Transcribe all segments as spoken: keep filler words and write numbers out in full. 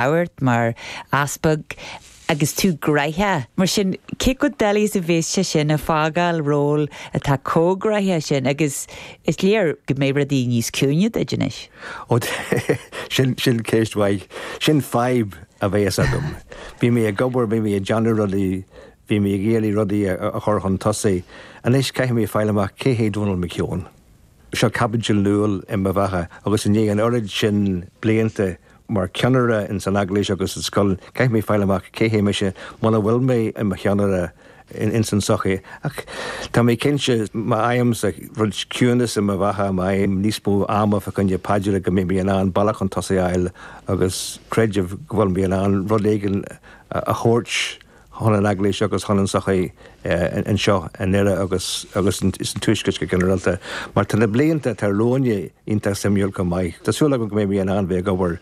labhairt mar easpag agus tú gnóthach. Mar sin cé chomh doiligh is a bheas sé sin ag fágáil ról atá chomh gnóthach sin agus is léir go mbeidh rudaí níos ciúine duit anois. Ó sin sin ceist mhaith sin fadhb a bheas agam. Bhí mé ag obair bhí mé ag déanamh rudaí bhí mé ag iarraidh rudaí a chur chun tosaigh. Anois caithfidh mé fáil amach cé hé Donal McKeown. Seo caibidil nua i mo bheatha agus i ndiaidh an oiread sin blianta mar cheannaire in san eaglais agus sa scoil caithfidh mé fáil amach cé hé mise muna bhfuil mé i mo cheannaire in in san sochaí. Ach tá mé cinnte má fhaighim sa rud ciúnas i mo bheatha má fhaighim níos mó ama fá choinne paidre go mbeidh mé in ann bealach chun tosaigh a fháil agus creidim go bhfuil mé in ann rud éigin a thabhairt chun an eaglais agus chun an sochaí anseo i nDoire agus agus is an tuaisceart go ginearálta. Mar tá na blianta atá romhainne iontach suimiúil go maith. Tá súil agam go mbeidh mé in ann bheith ag obair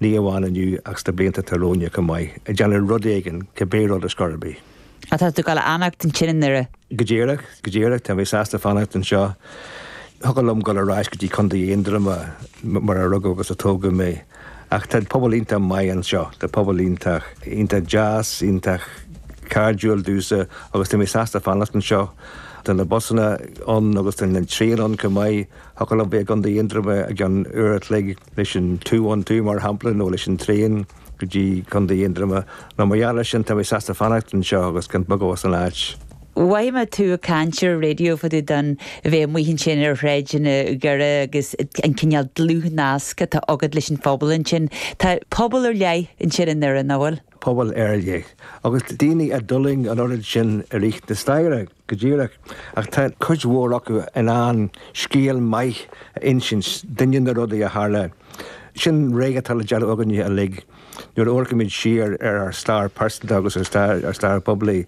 ní amháin inniu ach sna blianta atá romhainne go maith, ag déanamh rud éigin cibé rud is cor bith. Tá tú ag gabháil a fhanacht ansin i nDoire. Go díreach, go díreach tá mé sásta fanacht anseo. Thiocfadh liom dul ar ais go dtí Contae Aontroma mar a rugadh agus a tógadh mé. Ach tá pobal iontach maith anseo, tá pobal iontach iontach deas, iontach cairdiúil domhsa agus tá mé sásta fanacht anseo. Tá na busanna ann agus tá an traein ann go maith Thiocfadh liom bheith i gContae Aontroma i gceann uair a chloig leis an two one two mar shampla nó leis an traein go dtí Contae Aontroma. Nó mar gheall air sin tá mé sásta fanacht anseo agus gan bogadh as an áit. Mhothaigh mé tú ag caint ar raidió fá dtaobh den bheith amuigh ansin ar shráideanna Dhoire agus an cineál dlúthnasc atá agat leis an phobal ansin. Tá pobal ar leith ansin i nDoire nach bhfuil? pobal ar leith. Agus daoine a d'fhulaing an oiread sin i rith na staire go díreach, ach tá cuid mhór acu in ann scéal maith a insint dúinne na rudaí a tharla. Sin rud atá le déanamh againne uilig. Nuair a amharcaimid siar ar ár stair pearsanta agus ar stair ar stair poiblí.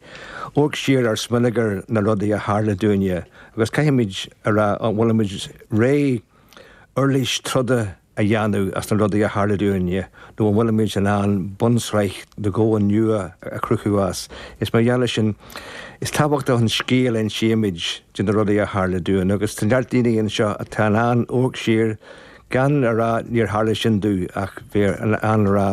Amharc siar ar smaoineamh ar na rudaí a tharla dúinne, agus caithfimid a rá an bhfuilimid réidh uirlis troda a dhéanamh as na rudaí a tharla dúinne, nó an bhfuilimid in ann bunsraith do dhomhan nua a chruthú as. Is mar gheall sin is tábhachtach an scéal a insímid de na rudaí a tharla dúinn, agus tá neart daoine anseo atá in ann amharc siar gan a rá níor tharla sin domh ach bheith in ann a rá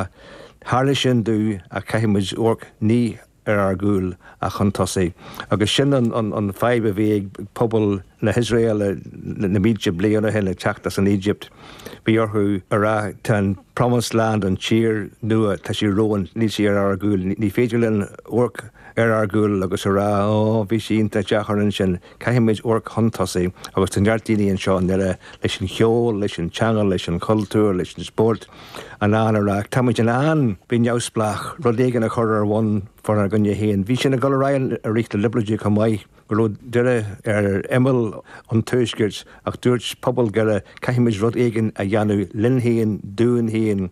tharla sin domh ach caithfimid amharc ní ar ár gcúl ach chun tosaigh. Agus sin an, an, an fadhb a bhí ag pobal na hIosrael na mílte bliain ó shin ag teacht as an Éigipt. Bhí orthu a rá tá an Promised Land an tír nua tá sí romhainn níl sí ar ár gcúl, ní féidir linn amharc ar ár gcúl agus a rá ó bhí sé iontach deacair ansin caithfimid amharc chun tosaigh agus tá neart daoine anseo i nDoire leis an cheol, leis an teanga, leis an chultúr, leis an spórt in ann a rá Táimid in ann bheith neamhspleách rud éigin a chur ar bun fánár gcoinne féin. Bhí sin ag dul ar aghaidh i rith na liobróidí chomh maith go raibh Doire ar imeall an tuaiscirt ach dúirt pobal Dhoire caithfimid rud éigin a dhéanamh linn féin dúinn féin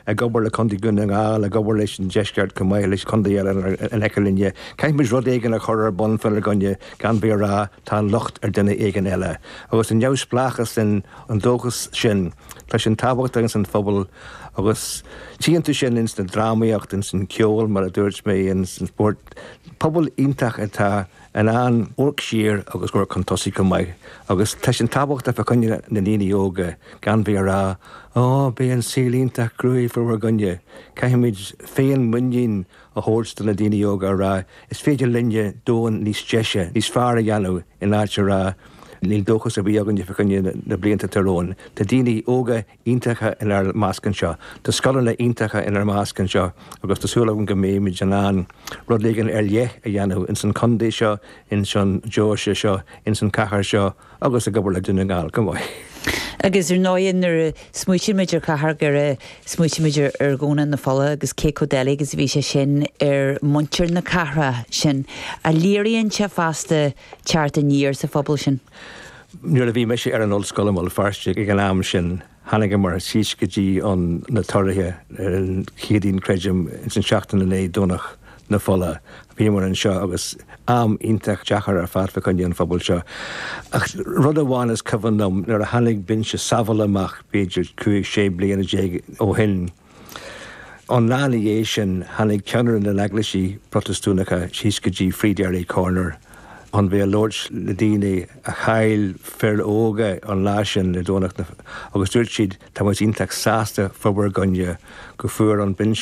ag obair le Contae Dhún na nGall ag obair leis an deisceart chomh maith leis contae eile in aice linne. Caithfimid rud éigin a chur ar bun fánár gcoinne gan bheith ag rá tá an locht ar duine éigin eile. Agus an neamhspleáchas sin an dóchas sin tá sin tábhachtach ins an phobal agus tchíonn tú sin ins na drámaíocht ins an ceol mar a dúirt mé ins an spórt. Pobal iontach atá in ann amharc siar agus amharc chun tosaigh go maith, agus tá sin tábhachtach fá choinne na ndaoine óga gan bheith ag rá ó beidh an saol iontach cruaidh fá bhur gcoinne. Caithfimid féinmhuinín a thabhairt do na daoine óga a rá is féidir linne domhan níos deise, níos fearr a dhéanamh in áit a rá níl dóchas ar bith againne fá choinne na blianta atá romhainn. Tá daoine óga iontacha inár measc anseo. Tá scoileanna iontacha inár measc anseo agus tá súil agam go mbeimid in ann rud éigin ar leith a dhéanamh ins an chontae seo, ins an deoise seo, ins an chathair seo agus ag obair le Dún na nGall go maith. Agus ar ndóigh nuair a smaoitímid ar chathair Dhoire smaoitímid ar Dhomhnach na Fola agus cé chomh doiligh agus a bhí sé sin ar muintir na cathrach sin a léiríonn sé fosta teacht aniar sa phobal sin. Nuair a bhí mise ar an ollscoil i mBéal Feirste ag an am sin tháinigeamar síos go dtí an na Toraigh ar an Chéadaoin creidim ins an seachtain i ndiaidh Domhnach na Fola. Bhíomar anseo agus am iontach deacair ar fad fá choinne an phobal seo. Ach rud amháin is cuimhin liom nuair a tháinig binse sábhála amach b'fhéidir cúig sé bliana déag ó shin. An lá ina dhiaidh sin tháinig ceannaire na n-eaglaisí Protastúnacha síos go dtí Free Derry Corner An bhí labhairt le daoine a chaill fir óga an lá sin le Domhnach agus dúirt siad tá muid iontach sásta fá bhur gcoinne go bhfuair an binse